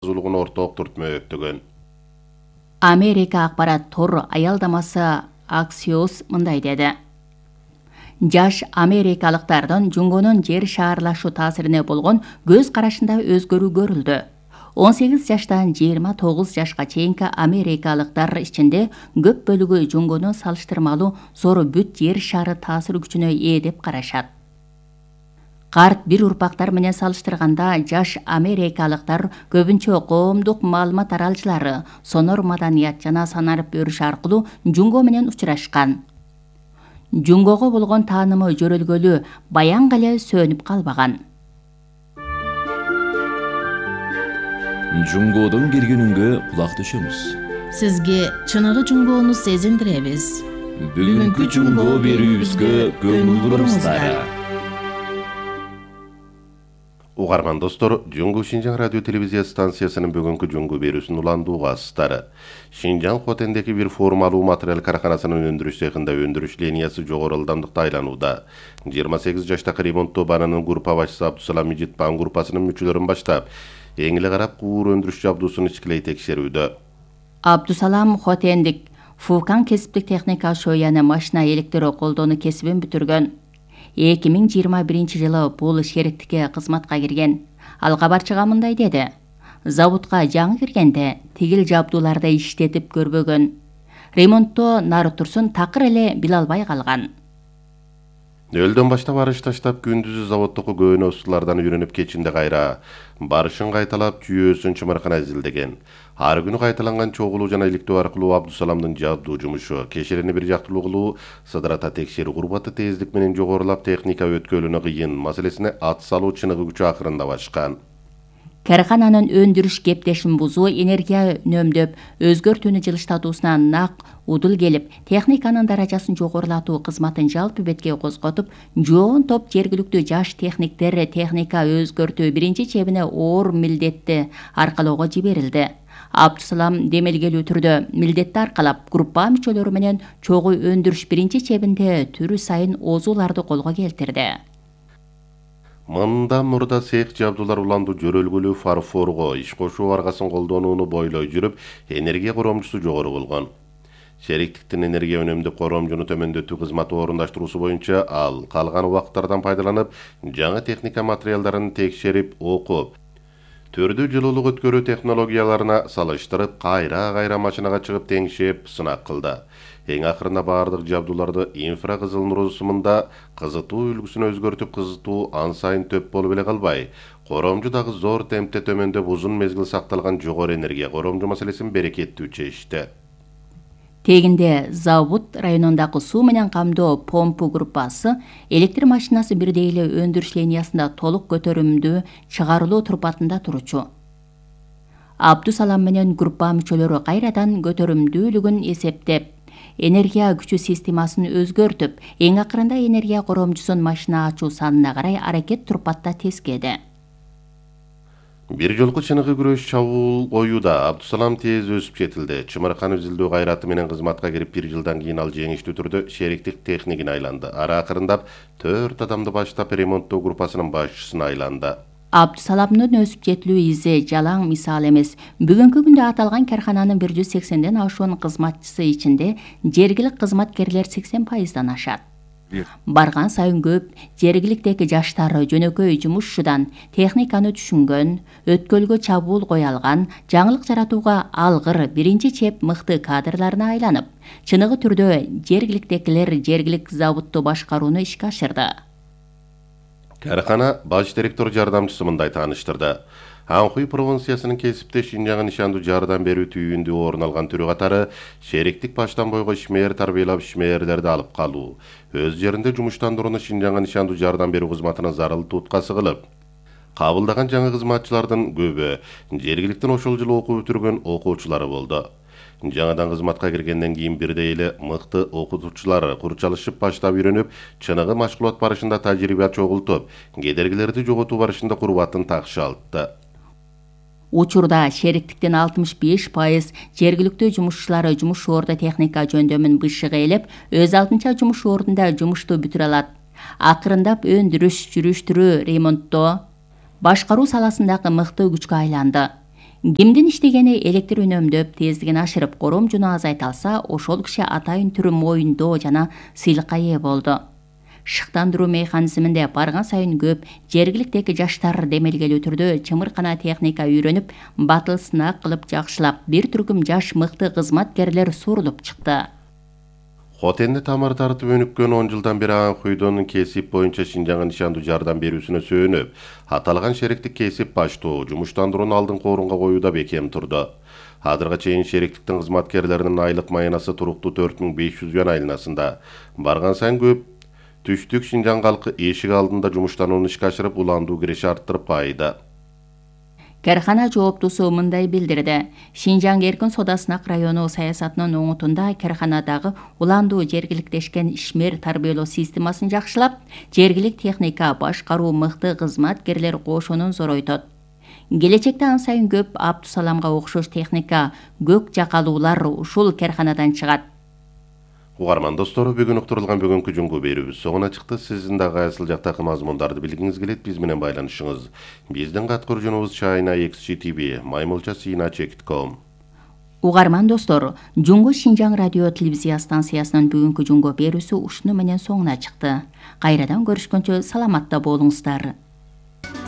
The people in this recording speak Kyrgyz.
Зулугун орток түртмөктөгөн. Америка акпарат тор аялдамасы Axios мындай деди. Жаш америкалыктардын Жунгонун жер шаарлашуу таасирине болгон көз карашында өзгөрүү көрүлдү. 18 жаштан 29 жашка чейинки америкалыктар ичинде көп бөлүгү Жунгону салыштырмалуу зор бүт жер шары таасир күчүнө ээ деп карашат. Карт бир урпактар менен салыштырганда жаш америкалыктар көбүнчө коомдук маалымат таралчылары, сонор маданият жана санарип өрүш аркылуу Жунго менен учурашкан. Жунгого болгон таанымы жөрөлгөлү баянга эле сөнүп калбаган. Жунгодон келгенүнгө кулак төшөмүз. Сизге чыныгы Жунгону сезиндиребиз. Бүгүнкү Жунго берүүбүзгө көңүл буруңуздар. Угарман достор, Жунгу Шинжаң радио телевизия станциясынын бүгүнкү Жунгу берүүсүн уландуу угасыздары. Шинжаң Хотендеги бир формалуу материал карканасынын өндүрүш цехинде өндүрүш линиясы жогору ылдамдыкта айланууда. 28 жаштагы ремонттоо баанынын группа башчысы Абдусалам Мижитбан группасынын мүчөлөрүн баштап, эң эле карап куур өндүрүш жабдуусун ичкилей текшерүүдө. Абдусалам Хотендик Фукан кесиптик техника шояны машина электро колдоону кесибин бүтүргөн. 2021 жылы бул шериктикке кызматка кирген. Ал кабарчыга мындай деди. Заводко жаңы киргенде тигил жабдууларды иштетип көрбөгөн. Ремонттоо нары турсун такыр эле биле албай калган. Нөлдөн баштап арыш таштап күндүзү заводдогу көөнө устулардан үйрөнүп кечинде кайра барышын кайталап жүйөөсүн чымыркана изилдеген. Ар күнү кайталанган чогулуу жана иликтөө аркылуу Абдусаламдын жабдуу жумушу, кешелени бир жактылуу кылуу, сыдырата текшерүү курбаты тездик менен жогорулап техника өткөлүнө кыйын маселесине ат салуу чыныгы күчү акырында башкан. Каркананын өндүрүш кептешин бузуу, энергия үнөмдөп, өзгөртүүнү жылыштатуусуна нак удул келип, техниканын даражасын жогорулатуу кызматын жалпы бетке козготуп, жоон топ жергиликтүү жаш техниктер техника өзгөртүү биринчи чебине оор милдетти аркалоого жиберилди. Абдусалам демелгелүү түрдө милдетти аркалап, группа мүчөлөрү менен чогуу өндүрүш биринчи чебинде түрү сайын оозууларды колго келтирди. Мындан мурда цех жабдуулар уландуу жөрөлгөлүү фарфорго иш кошуу аргасын колдонууну бойлой жүрүп, энергия коромчусу жогору болгон. Шериктиктин энергия үнөмдүк коромжуну төмөндөтүү кызматы орундаштыруусу боюнча ал калган убактардан пайдаланып, жаңы техника материалдарын текшерип, окуп, түрдүү жылуулук өткөрүү технологияларына салыштырып, кайра машинага чыгып теңшеп, сынак кылды. Эң акырында баардык жабдууларды инфракызыл нур сымында кызытуу үлгүсүн өзгөртүп, кызытуу ан сайын төп болуп эле калбай, коромжу дагы зор темпте төмөндөп, узун мезгил сакталган жогору энергия коромжу маселесин берекеттүү чечти. Тегинде Завод районундагы суу менен камдоо помпу группасы электр машинасы бирдей эле өндүрүш линиясында толук көтөрүмдүү чыгарылуу турпатында турчу. Абдусалам менен группа мүчөлөрү кайрадан көтөрүмдүүлүгүн эсептеп, энергия күчү системасын өзгөртүп, эң акырында энергия коромчусун машина ачуу санына карай аракет турпатта тескеди. Бир жолку чыныгы күрөш чабуул коюуда Абдусалам тез өсүп жетилди. Чымыркан изилдөө кайраты менен кызматка кирип, 1 жылдан кийин ал жеңиштүү түрдө шериктик техникин айланды. Ара акырындап 4 адамды баштап ремонттоо группасынын башчысына айланды. Абдусаламдын өсүп жетилүү изи жалаң мисал эмес. Бүгүнкү күндө аталган каркананын 180ден ашуун кызматчысы ичинде жергилик кызматкерлер 80%дан ашат. Барган сайын көп жергиликтеги жаштар жөнөкөй жумушчудан техниканы түшүнгөн, өткөлгө чабуул кое алган, жаңылык жаратууга алгыр биринчи чеп мыкты кадрларына айланып, чыныгы түрдө жергиликтегилер жергилик заводду башкарууну ишке ашырды. Каркана баш директор жардамчысы мындай тааныштырды. Анхуй провинциясынын кесипте Шинжаңга нишандуу жардам берүү түйүндүү орун алган түрү катары шериктик баштан бойго ишмер тарбиялап ишмерлерди алып калуу, өз жеринде жумуштандырууну Шинжаңга нишандуу жардам берүү кызматына зарыл туткасы кылып, кабылдаган жаңы кызматчылардын көбү жергиликтин ошол жылы окуу бүтүргөн окуучулары болду. Жаңадан кызматка киргенден кийин бирдей эле мыкты окутуучулар курчалышып баштап үйрөнүп, чыныгы машгулат барышында тажрыйба чогултуп, кедергилерди жоготуу барышында курбатын такшалтты. Учурда шериктиктин 65% жергиликтүү жумушчулары жумуш орду техника жөндөмүн бышыгы элеп, өз алдынча жумуш ордунда жумушту бүтүрө алат. Акырындап өндүрүш, жүрүштүрүү, ремонттоо, башкаруу саласындагы мыкты күчкө айланды. Кимдин иштегени электр үнөмдөп, тездигин ашырып, коромжуну азайта алса, ошол киши атайын түрү моюндоо жана сыйлыкка ээ болду. Шыктандыруу механизминде барган сайын көп жергиликтеги жаштар демелгелүү түрдө чымыркана техника үйрөнүп, батыл сынак кылып жакшылап, бир түркүм жаш мыкты кызматкерлер сурулуп чыкты. Хотенди тамыр тартып өнүккөн 10 жылдан бери Анхуйдун кесип боюнча Шинжаңга нишандуу жардам берүүсүнө сөөнүп, аталган шериктик кесип баштоо жумуштандырууну алдыңкы орунга коюуда бекем турду. Азырга чейин шериктиктин кызматкерлеринин айлык маянасы туруктуу 4500 юан айланасында. Барган сайын көп түштүк Шинжаң калкы эшик алдында жумуштанууну ишке ашырып, уландуу киреше арттырып кайды. Кархана жооптусу мындай билдирди. Шинжаң эркин Содасынак району саясатынын оңутунда карханадагы уландуу жергиликтешкен ишмер тарбиялоо системасын жакшылап, жергилик техника башкаруу мыкты кызматкерлер кошунун зоройтот. Келечекте ан сайын көп Абдусаламга окшош техника, көк жакалуулар ушул карханадан чыгат. Угарман достору, бүгүн уктурулган бүгүнкү жуңгу берүүбүз соңуна чыкты. Сиздин дагы айсыл жактагы мазмундарды билгиңиз келет, биз менен байланышыңыз. Биздин каткыруучубуз China XGTV, maymulcha@chekit.com. Угарман достор, Жуңгу Шинжаң радио телевизия станциясынын бүгүнкү жуңгу берүүсү ушуну менен соңуна чыкты. Кайрадан көрүшкөнчө саламатта болуңуздар.